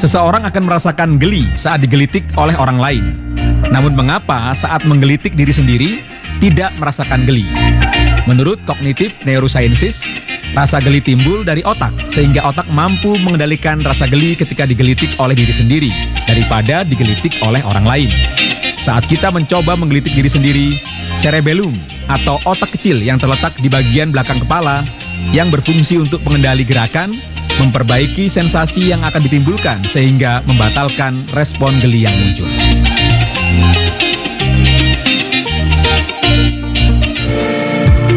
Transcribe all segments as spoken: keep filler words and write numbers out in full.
Seseorang akan merasakan geli saat digelitik oleh orang lain. Namun mengapa saat menggelitik diri sendiri tidak merasakan geli? Menurut kognitif neurosciences, rasa geli timbul dari otak, sehingga otak mampu mengendalikan rasa geli ketika digelitik oleh diri sendiri daripada digelitik oleh orang lain. Saat kita mencoba menggelitik diri sendiri, cerebellum atau otak kecil yang terletak di bagian belakang kepala yang berfungsi untuk pengendali gerakan, memperbaiki sensasi yang akan ditimbulkan sehingga membatalkan respon geli yang muncul.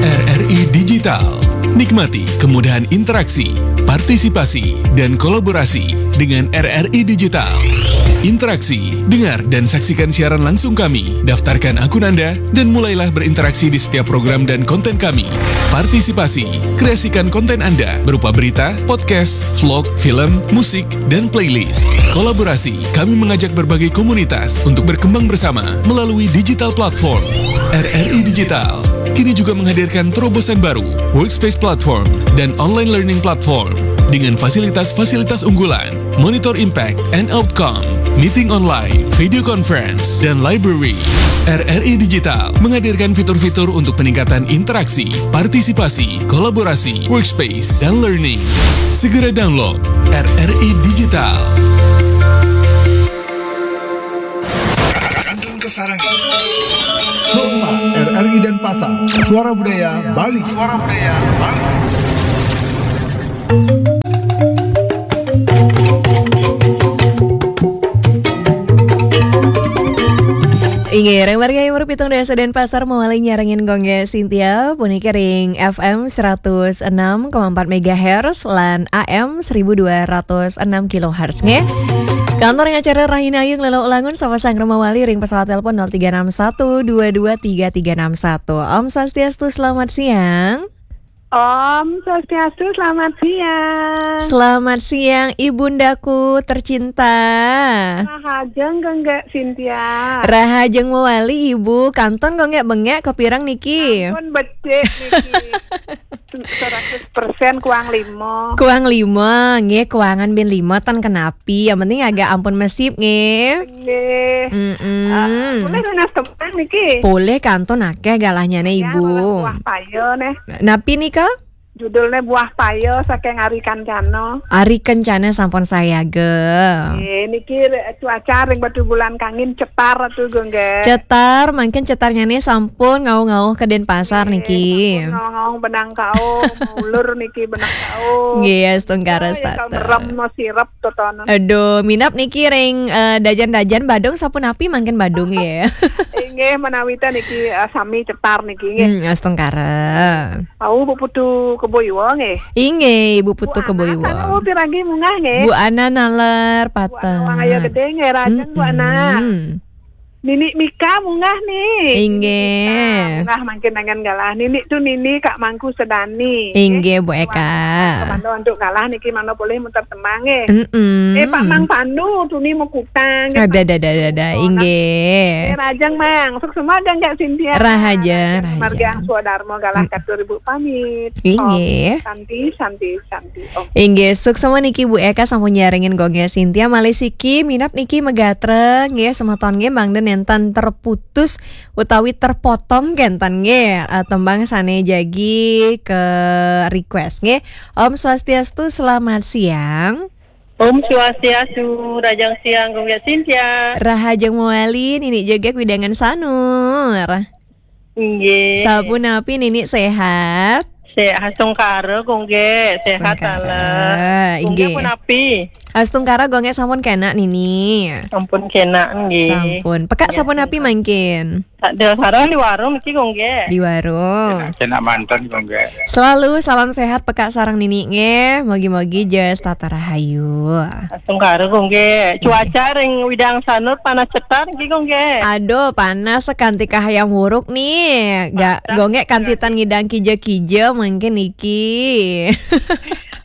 R R I Digital. Nikmati kemudahan interaksi, partisipasi, dan kolaborasi dengan R R I Digital. Interaksi, dengar dan saksikan siaran langsung kami. Daftarkan akun Anda dan mulailah berinteraksi di setiap program dan konten kami. Partisipasi, kreasikan konten Anda berupa berita, podcast, vlog, film, musik, dan playlist. Kolaborasi, kami mengajak berbagai komunitas untuk berkembang bersama melalui digital platform. R R I Digital kini juga menghadirkan terobosan baru, Workspace Platform dan Online Learning Platform dengan fasilitas-fasilitas unggulan, Monitor Impact and Outcome, Meeting Online, Video Conference, dan Library. R R I Digital menghadirkan fitur-fitur untuk peningkatan interaksi, partisipasi, kolaborasi, workspace, dan learning. Segera download R R I Digital. Kantun Kasarangin. Rumah R R I Denpasar. Suara Budaya Bali. Suara Budaya Bali. Inggih, ring wargi umur pitung dasa Denpasar mawali nyarengin Gongge Sintia puniki ring F M seratus enam koma empat megahertz lan A M seribu dua ratus enam kilohertz nggih. Kantor ring acara Rahina Ayu nglelok ulangun sapa sang mawali ring pesawat telepon nol tiga enam satu dua dua tiga tiga enam satu. Om Swastiastu, selamat siang. Om Swastiastu, selamat siang. Selamat siang, Ibundaku tercinta. Rahajeng Gongge Sintia. Rahajeng mawali, Ibu. Kantun Gongge bengek, kapireng niki? Ampun, becik niki. Seratus persen kuang lima. Kuang lima, nggih, kuangan bin lima tan kenapi. Yang penting agak ampun mesip, nggih. Nggih. Mm-mm. Ah, boleh nunas tembang niki? Boleh, kantun akeh galahnya nih, Ya, Ibu. Buah payo nih. Napi nika? Judulnya Buah Payo saking Ari Kancana. Ari Kencana sampun sayaga. Eh, niki re- cuaca ring Batubulan Kangin cetar tuh, Gongge. Cetar, mangkin cetarnya nih sampun ngauh-ngauh ke Denpasar niki. Ngawang-ngawang benang kao, maulur niki benang kao. Nggih, astungkara Ya, ya, setata. Merem no sirep totono. Aduh, minap niki ring eh, dajan-dajan Badung sapunapi mangkin Badung ya. Inggih, menawita niki eh, sami cetar niki, nggih. Hmm, astungkara. Au Bu Putu Kebo Iwa, nggih. Inggih, Ibu Putu Bu Kebo Ana, Iwa. Ana, piragi munggah, nggih. Bu Ana naler Bu Ana wong ayo patah. Gede, nggih, Rajeng Bu Ana. Mm-mm. Nini Mika munggah nih. Inggih. Nini Mika munggah mangkin dengan galah. Nini tuh Nini Kak Mangku Sedani. Inggih, Bu Eka. Kemana untuk galah niki mana boleh muter temang, nggih. Mm-mm. Eh, Pak Mang Pandu tuh nih mau kutang. Ada, ada, ada, ada, ada. Oh, Inggih. Eh, Rajeng Mang, suksma Gongge Sintia. Rahajeng, Margi rahajeng. Angsu Dharma galah Mm. katur Ibu pamit. Inggih. Om, Santi, Santi, Santi. Om. Inggih, suksma niki Bu Eka sampun nyarengin Gongge Sintia malih siki minap niki megatra nggih semeton nggih mangda nenten terputus utawi terpotong kenten nggih eh, tembang sane jagi ke request nggih. Om Swastiastu, selamat siang. Om Swastiastu, Rajang Siang, Gongge Sintia. Rahajeng mawali Nini Jegek Widangan Sanur. Nggih. Sapunapi Nini sehat? Sehat astungkara, Gongge. Sehat Astungkara, ala. Gongge inggih. Punapi? Astungkara Gongge sampun kena Nini. Ampun kena nggih. Sampun. Peka Nggih, sapunapi nggih. Mangkin? Tak ada sarang di warung niki, Gongge. Di warung. Kena mantan, Gongge. Selalu salam sehat peka sarang Nini nggih. Mogi-mogi jes tata rahayu. Astungkara, Gongge. Cuaca ring Widang Sanur panas cetar niki, Gongge. Aduh, panas sekanti kahayam wuruk nih. Gak Gongge kantitan ngidang kija-kija mangkin niki.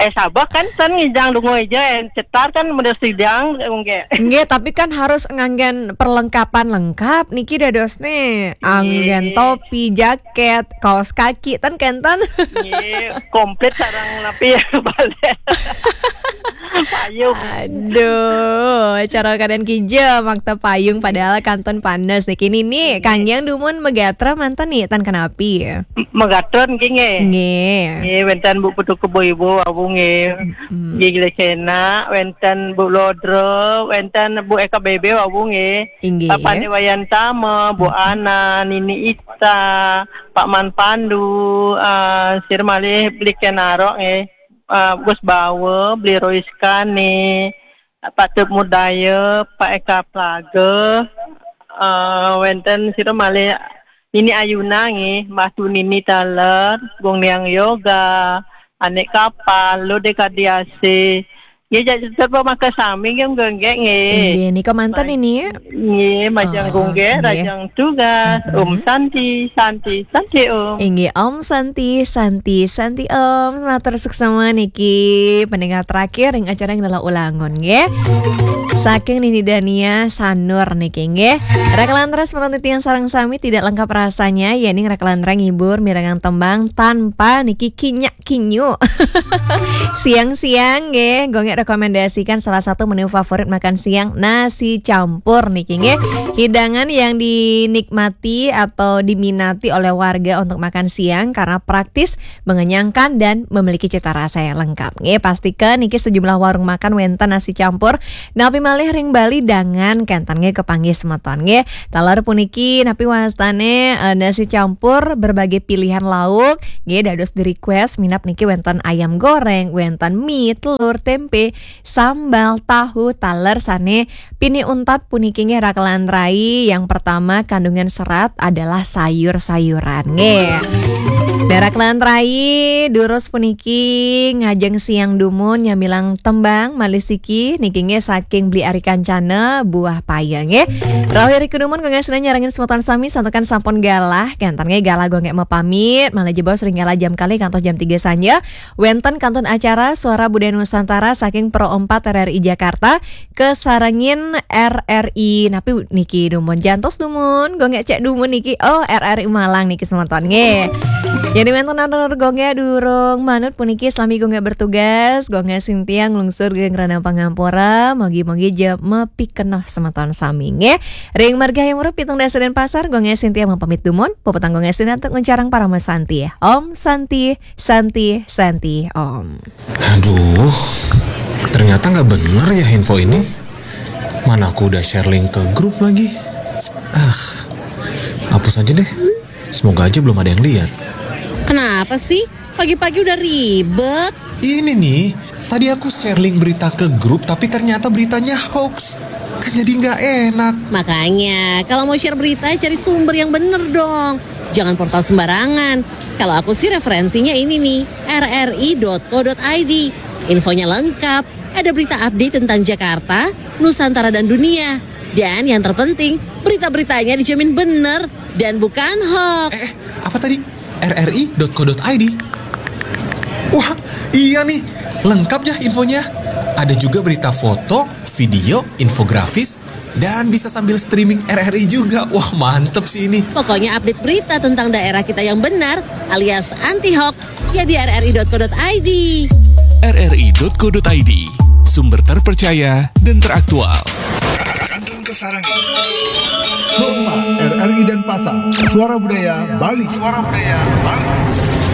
Eh, sabak kan ten ngidang dungo aja, eh, cetar Ar kan model sidang, nggih. Nggih, tapi kan harus nganggen perlengkapan lengkap niki dados nih. Anggen topi, jaket, kaos kaki, ten kenten. Nggih, komplit sareng napi ya, balik. Payung. Aduh, cara keadaan kija makta payung padahal kantun panas niki. Nini, kangge dumun megatra manten nih, tan kenapi? Megatra nggih, nggih. Nggih. Nggih, wenten Bu Putu Kebo Ibu, awu nggih. Mm-mm. Nggih, gila kena, wenten Bu Lodro, wenten Bu Eka Bebe, awu nggih. Inggih. Pak Pande Wayan Tama, Bu Ana, Nini Ita, Pak Man Pandu, eh, sir malih Bli Kenarok nggih. Eh, Gus Bawa, Bli Roiska nggih. Pak Tep Mudaya, Pak Eka Plaga, eh, wenten sira malih Nini Ayuna nggih, Mbah Tu Nini taler, Gung Niang Yoga, Anik Kapal, Lode Kadiase. Nggih, jak tetep makan sami nggih, nggih, nggih. Inggih, nika manten ini ya. Nggih, majeng nggih, rajang tugas. Om Santi, Santi, Santi Om. Inggih, Om Santi, Santi, Santi Om. Matur suksma niki pendengar terakhir ring acara yang adalah ulangun nggih. Saking Nini Dania Sanur niki nggih. Rakalan ras menurut titiang sareng sami tidak lengkap rasanya, yening rakalan ras ngibur mirengang tembang tanpa niki kinyak kinyu. Siang-siang nggih, Gung Gek rekomendasikan salah satu menu favorit makan siang, nasi campur niki nggih. Hidangan yang dinikmati atau diminati oleh warga untuk makan siang karena praktis, mengenyangkan dan memiliki cita rasa yang lengkap nggih. Pastikan niki sejumlah warung makan wenten nasi campur. Napi malih ring Bali dangan kenten nggih kepanggih semeton nggih. Taler puniki napi wastane, eh, nasi campur berbagai pilihan lauk nggih, dados di-request minab niki wenten ayam goreng, wenten mie, telur, tempe, sambal, tahu, taler sane pini untat puniki nggih rakalan rai. Yang pertama kandungan serat adalah sayur-sayuran nggih. Nah, rakalan rai durus puniki ngajeng siang dumun nyamilang tembang malih siki niki nggih saking Bli Ari Kancana Buah Paya nggih. Rauh iri kedumun Gung Gek nyarengin semeton sami santukan sampun galah, kenten nggih galah Gung Gek mapamit, malih jebos ring galah jam kalih kantos jam tiga sanja. Wenten kantun acara Suara Budaya Nusantara saking Pro empat R R I Jakarta, kesarengin R R I napi niki dumun, jantos dumun, Gung Gek cek dumun niki. Oh, R R I Malang niki semeton nggih. Yen wenten atur Gung Gek durung manut puniki, selami Gung Gek bertugas, Gung Gek sintia nglungsur geng rana pangampura, mogi-mogi ja mapikenoh semeton sami nggih. Ring margi Hayam Wuruk pitung dasa Denpasar, Gung Gek sintia mapamit dumun, puputang Gung Gek sinantuk nguncarang parama santi. Om Santi, Santi, Santi, Om. Aduh, ternyata nggak bener ya info ini. Mana aku udah share link ke grup lagi. Ah, hapus aja deh. Semoga aja belum ada yang lihat. Kenapa sih? Pagi-pagi udah ribet. Ini nih, tadi aku share link berita ke grup, tapi ternyata beritanya hoax. Kan jadi nggak enak. Makanya, kalau mau share berita, cari sumber yang bener dong. Jangan portal sembarangan. Kalau aku sih referensinya ini nih, R R I dot co dot I D. Infonya lengkap, ada berita update tentang Jakarta, Nusantara dan dunia. Dan yang terpenting, berita-beritanya dijamin bener dan bukan hoax. Eh, eh, apa tadi? R R I dot co dot I D. Wah, iya nih, lengkap ya infonya. Ada juga berita foto, video, infografis, dan bisa sambil streaming R R I juga. Wah, mantep sih ini. Pokoknya update berita tentang daerah kita yang benar alias anti hoax ya di R R I dot co dot I D. R R I dot co dot I D, sumber terpercaya dan teraktual. Kantun kesarang. Hotma R R I Denpasar, Suara Budaya Bali. Suara Budaya Bali.